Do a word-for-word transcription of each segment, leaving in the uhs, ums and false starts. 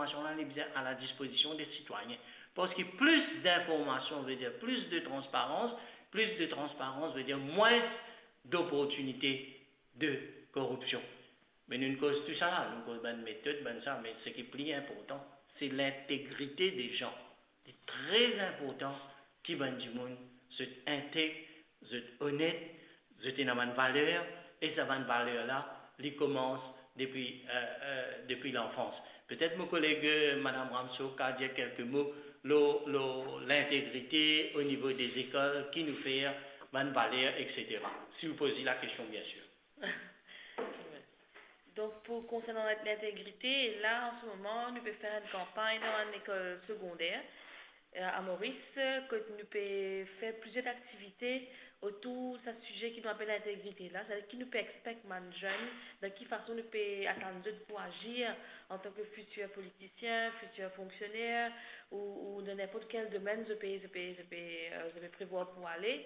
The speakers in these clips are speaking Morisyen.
Linformasion la, li bizin a la dispozision de sitwayin. Parski plis linformasion ve dir plis de transparans, plis de transparans ve dir mwins doportinite de koripsion. Me nou koz tou sa la, nou koz bann metod, bann sa, me seki pli inportan, se lintegrite de zan. Li tre inportan ki bann dimoun zot integ, zot onet, zot ena bann valer, e sa bann valer la, li koumans depi, eh, eh, depi lanfans. Petet mo koleg, eh, Madam Ramso, ka dir kelke mo lor, lor lintegrite o nivo de lekol, ki nou fer, bann valer, et cetera. Si ou poz li lakestion, bien sir. Donk, pou konsernan lintegrite, la, an se moman, nou pe fer enn kanpagn dan enn lekol segonder, eh, a Moris, kot nou pe fer plizier aktivite otour sa size ki nou apel lintegrite la, setadir ki nou pe expek bann zenn, dan ki fason nou pe atann zot pou azir antan ki fitir politisien, fitir fonksioner, ou, ou dan ninport kel domenn zot pe, zot pe, zot pe, eh, zot pe prevwar pou ale.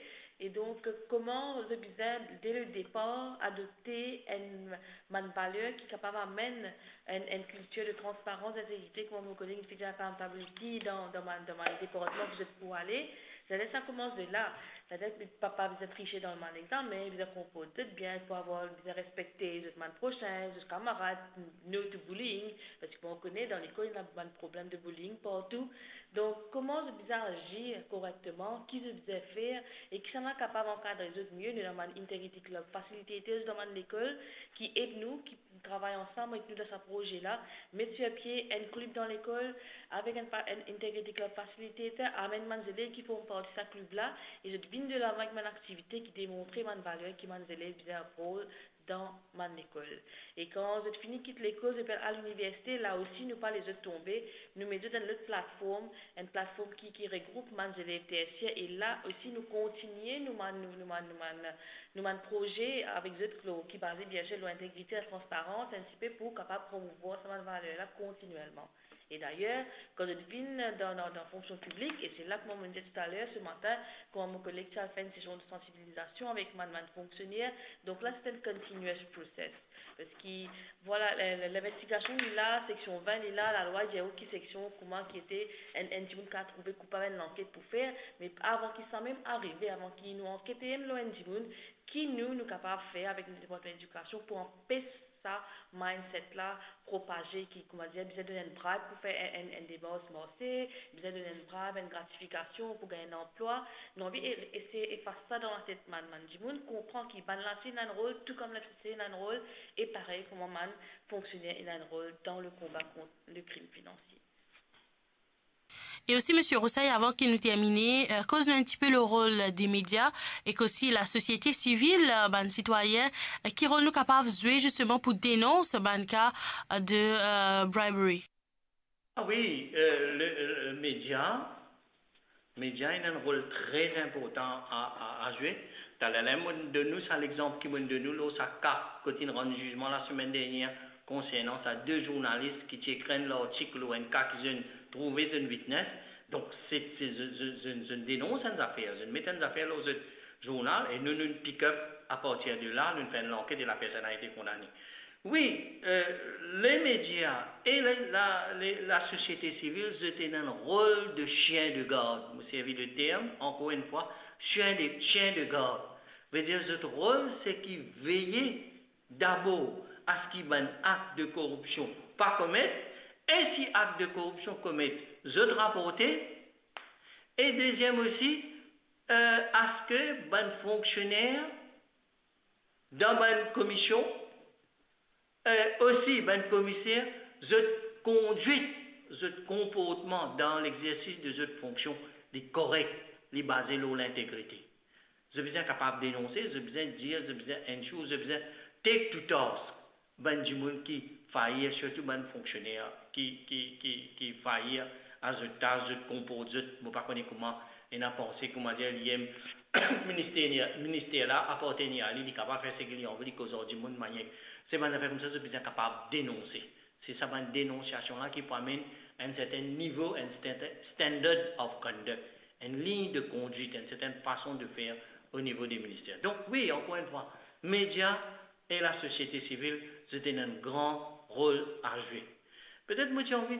E donk, kouma zot bizin, de le depar, adopte enn, bann valer ki kapav amenn enn, enn kiltir de transparans, lintegrite, kouma mo koleg inn finn dir, accountability dan, dan bann, dan bann departman ki zot pou ale. Setadir sa koumans de la. Setadir ki pa, pa bizin trise dan bann examen, bizin konport zot bien, pou avoir, bizin respekte zot bann prosin, zot kamarad, no to bullying, parski mo kone dan lekol ena bann problem de bullying partou. Donk, kouma zot bizin azir korekteman, ki zot bizin fer, e kisannla kapav ankadre zot mie, nou ena bann integrity club facilitators dan bann lekol ki ed nou, ki travay ansam avek nou dan sa proze la, met sir pie enn klib dan lekol, avek enn pa-, enn integrity club facilitator, amenn bann zelev ki form parti sa klib la, e zot vinn delavan avek bann aktivite ki demontre bann valer ki bann zelev bizin uphold dan bann lekol. E kan zot fini kit lekol, zot pe al liniversite, la osi nou pa les zot tonbe, nou met zot dan enn lot platform, enn platform ki, ki regroup bann zelev tersier, e la osi nou kontigne nou bann, nou, nou bann, nou bann, nou bann proze avek zot ki, ki baze bien sir lor integrite, latransparans, enn tipe pou kapav promouvwar sa bann valer la kontinielman. E dayer, kan zot vinn dan, dan, dan fonksion piblik, e se la kouma mo'nn dir taler, se matin, kouma mo koleg ti al fer enn sesion de sansibilizasion avek bann, bann fonksioner, donk la, se enn continuous process. Parski, vwala, le, le, linvestigasion li la, seksion vin li la, lalwa dir ou ki seksion, kouma ki ete, enn, enn dimoun kapav trouve koupab, enn lanket pou fer, me avan ki sa mem arive, avan ki nou ankete mem lor enn dimoun, ki nou, nou kapav fer avek nou Departman Ledikasion pou anpes sa mindset la propaze, ki, kouma dir, bizin donn enn bribe pou fer enn, enn, enn demars marse, bizin donn enn bribe, enn gratifikasion pou gagn enn anplwa. Nou anvi e-, eseye efas sa dan latet bann, bann dimoun, konpran ki bann la osi ena enn rol, tou kouma lasosyete ena enn rol, e parey kouma bann fonksioner ena enn rol dan le konba kont le krim finansie. E osi, Misie Roussel, avan ki nou termine, eh, koz nou enn tipe le rol de media ek osi lasosiete sivil, eh, bann sitwayin, eh, ki rol nou kapav zwe zisteman pou denons bann ka, eh, de, eh, bribery? Ah wi, eh, le, le media, media ena enn rol tre inportan a, a, a zwe. Taler la, mo'nn donn ou sa lexanp ki mo'nn donn ou lor sa ka kot inn rann zizman lasemenn dernier konsernan sa de zournalis ki ti ekrir enn lartik lor enn ka ki zot inn trouve, zot inn witness. Donk, se, se, zot, zot, zot, zot inn denons enn zafer, zot inn met enn zafer lor zot zournal e nou, nou pick up, apartir de la, nou fer enn lanket e lapersonn la ete kondane. Wi, eh, le media e le, la, le, lasosiete sivil, zot ena enn rol de chien de garde. Mo servi le term, ankor enn fwa, chien de, chien de garde. Ve dir zot rol, se ki veye dabor a se ki bann akt de koripsion pa komet, e si akt de koripsion komet, zot raporte, e deziem osi, eh, a se ki bann fonksioner dan bann komisyon, eh, osi bann komiser, zot kondwit, zot konportman dan lexersis de zot fonksion, li korek, li baze lor lintegrite. Zot bizin kapav denonse, zot bizin dir, zot bizin ensure, zot bizin take to task bann dimoun ki fair, sirtou bann fonksioner ki, ki, ki, ki fair a zot tas, zot konport zot, mo pa kone kouma ena panse, koumadir li enn minister, minister la apartenir a li, li kapav fer seki li anvi, li koz ar dimoun, manier. Se bann zafer koumsa zot bizin kapav denonse. Se sa bann denonsiasion la ki pou amenn enn serten nivo, enn stand-, standard of conduct, enn lign de kondwit, enn serten fason de fer o nivo de minister. Donk wi, ankor enn fwa, media e lasosiete sivil, zot ena enn gran rol a zwe. Petet mo ti anvi